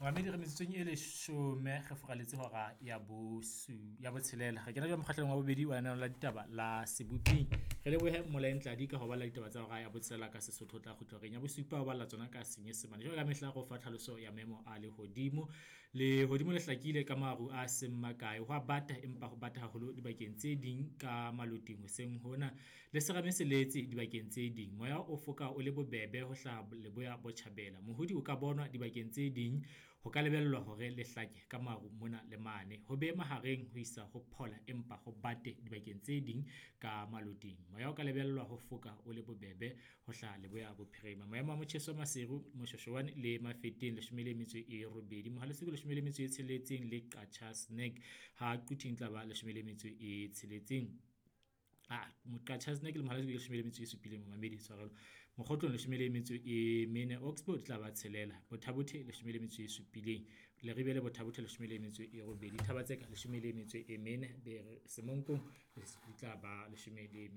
Mamedi re metsotsong e leshome re furaletse hora ya bosu ya botshelela. Re kena jwale mokgahlelong wa bobedi wa lenaneo la ditaba la Seboping. Re lebohe Mmolae Ntladi ka ho balla ditaba tsa hora ya botshelela ka Sesotho, o tla kgutla horeng ya bosupa ho balla tsona ka Senyesemane. Jwalo ka mehla re o fa tlhaloso ya maemo a lehodimo. Lehodimo le hlakile ka maru a seng makae, ho a bata empa ho bata haholo dibakeng tse ding ka maloting hoseng hona. Le serame se letse dibakeng tse ding. Moya o foka o le bobebe ho hlaha leboya botjhabela. Mohodi o ka bonwa dibakeng tse ding. Ho ka lebellwa hore le hlake ka maru mona le mane. Ho be mahareng ho isa ho phola empa ho bate dibakeng tse ding ka maloting. Moya o ka lebellwa ho foka o le bobebe ho hlaha leboya bophirima. Maemo a motjheso Maseru, Moshweshwane le Mafeteng 18, Mohale's hoek 16 le Qacha's Nek. Ha Quthing e tla ba 16. Qacha's Nek le Mohale's hoek 17 momamedi tshwarelo. Mokgotlong 14, Oxbow di tla ba 6, Botha Bothe 17, Leribe le Botha Bothe 18, Thaba-Tseka 14, Semonkong di tla ba 13.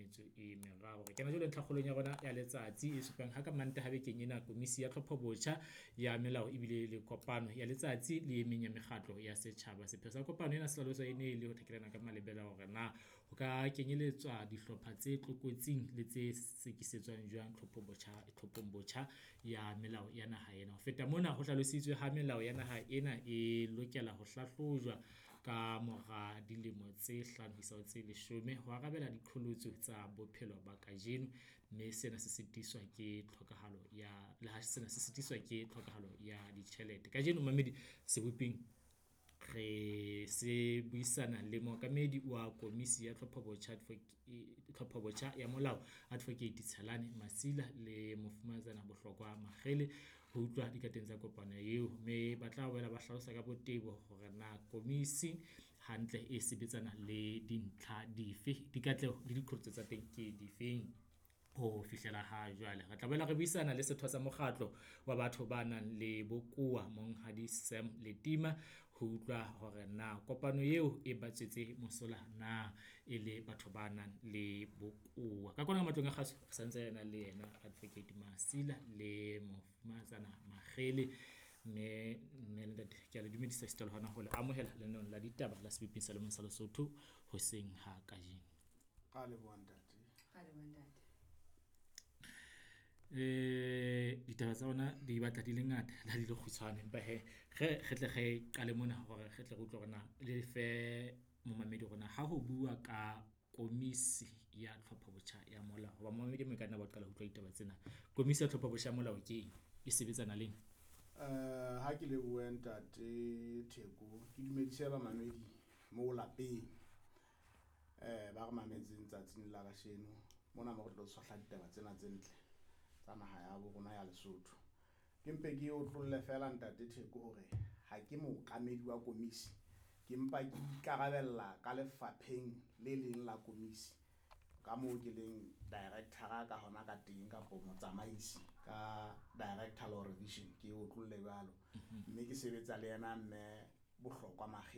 Re kena jwale ntlhakgolong ya rona ya letsatsi e supang ha ka Mantaha bekeng ena komisi ya tlhopho botjha ya melao ebile le kopano ya letsatsi le e meng ya mekgatlo ya setjhaba. Sepheo sa kopano ena se hlaloswa e ne le ho thekelana ka malebela hore na ho ka kenyelletswa dihlopha tse tlokotsing le tse sekisetswang jwang tlhophong botjha ya melao ya naha ena. Ho feta mona, ho hlalositswe ha melao ya naha ena e lokela ho hlahlojwa ka mora dilemo tse 5 ho isa ho tse 10 ho arabela diqholotso tsa bophelo ba kajeno, mme sena se sitiswa ke tlhokahalo ya le ha sena se sitiswa ke tlhokahalo ya ditjhelete. Kajeno momamedi Seboping re se buisana le mookamedi wa komisi ya tlhopho-botjha ya molao, Advocate Tshelane Masila le Mofumahatsana Bohlokwa Makgele ho utlwa dikateng tsa kopano eo, mme ba tla boela ba hlalosa ka botebo hore na komisi hantle e sebetsana le dintlha dife, dikatleho le diqholotso tsa teng ke difeng ho fihlela ha jwale. Re tla boela re buisana le setho sa mokgatlo wa batho ba nang le bokowa Monghadi Sam Letima ho utlwa hore na kopano eo e ba tswetse mosola na e le batho ba nang le bokowa. Ka kwano ka matlong a kgaso re santse re na le yena Advocate Masila le Mofumahatsana Makgele, mme mme le ntate ke a le dumedisa esita le hona ho le amohela lenaneong la ditaba la Seboping sa Lemong sa Lesotho hoseng ha kajeno. Ra leboha ntate. Ra leboha ntate. Ditaba tsa rona di batla di le ngata le ha di le kgutshwane, empa hee re tle re qale mona hore re tle re utlwe hore na le fe momamedi hore na ha ho bua ka komisi ya tlhopho botjha ya molao, hoba momamedi e mong e ka nna ba qala ho utlwa ditaba tsena. Komisi ya tlhopho botjha ya molao ke eng? E sebetsana leng? Ha ke lebohe ntate Theko, ke dumedise bamamedi mo lapeng. Ba re mametseng tsatsing la kasheno mona mo re tlo tshohla ditaba tsena tse ntle tsa naha ya bo rona ya Lesotho. Ke mpe ke otlolle fela ntate Theko hore ha ke mookamedi wa komisi, ke mpa ke ikarabella ka lefapheng le leng la komisi ka moo ke leng director-a ka hona ka teng kapo motsamaisi ka director law revision, ke otlolle jwalo. Mme ke sebetsa le yena mme Bohlokwa Makgele.